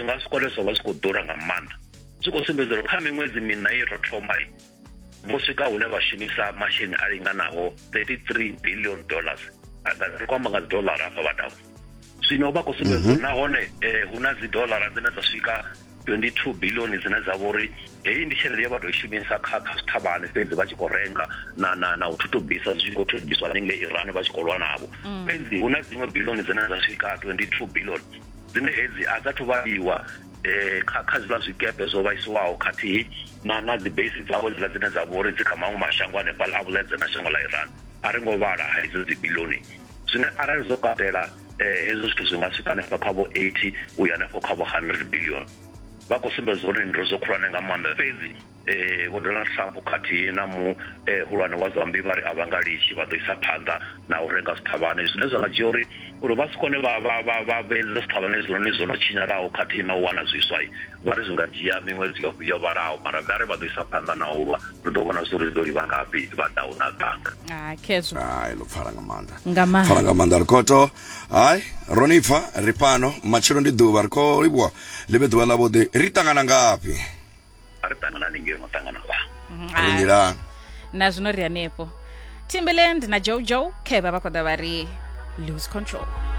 zwi nga si kone zwa vha zwi khou ḓura nga maanḓa. Zwi khou sumbedza uri kha miṅwedzi miṋa ye ro thoma vho swika hune vha shumisa masheleni a linganaho 33 billion dollars. Ri khou amba nga dzi dollar hafha vhadau. Zwino vha khou sumbedza uri nahone hu na dzi dollar dzine dza swika 22 billion dzine dza vha uri heyi ndi tshelede ye vha tou i shumisa kha kha zwiṱhavhane fhedzi vha tshi khou renga na na na u thutubisa zwi tshi khou thutubiswa haningei Iran vha tshi khou lwa navho. Fhedzi hu na dziṅwe billion dzine dza swika 22 billion dzine hedzi a dza thu vhaliwa kha kha zwiḽa zwikepe zwo vhaisiwaho khathihi na na dzi base dzavho hedziḽa dzine dza vha uri dzi kha maṅwe mashango hanefhaḽa a vhuledze na shango ḽa Iran. A ri ngo vhala hedzo dzi billion zwine arali zwo katela hezwo zwithu zwi nga swika hanefha kha vho 80 uya hanefho kha vho 100 billion. Vha khou sumbedza uri ndi ndozwo khulwane nga maanḓa fhedzi Vho Donald Trump khathihi na muhulwane wa zwa mmbi vha ri a vha nga litshi vha ḓo isa phanḓa na u renga zwiṱhavhane zwine zwa nga dzhia uri uri vha si kone vha vha vha vha vhuyedzedza zwiṱhavhane hezwinoni zwo no tshinyalaho khathihi na u wana zwiswa vha ri zwi nga dzhia miṅwedzi yo yo vhalaho mara vha ri vha ḓo isa phanḓa na u lwa ri ḓo vhona zwa uri zwi ḓo livha ngafhi vha ḓaho na ganga. Ah, khezwo. Hai ḽo pfala nga maanḓa. Nga maanḓa. Pfala nga maanḓa ri khou to hai ro ni pfa ri fhano matshelo ndi ḓuvha ri khou livhuwa ḽi vhe ḓuvha ḽavhuḓi ri ṱangana ngafhi. A ri ṱangana haningei no ṱangana vha. Ri nḓilani. Na zwino ri hanefho. Timberland na Jojo khevha vha khou ḓa vha ri lose control.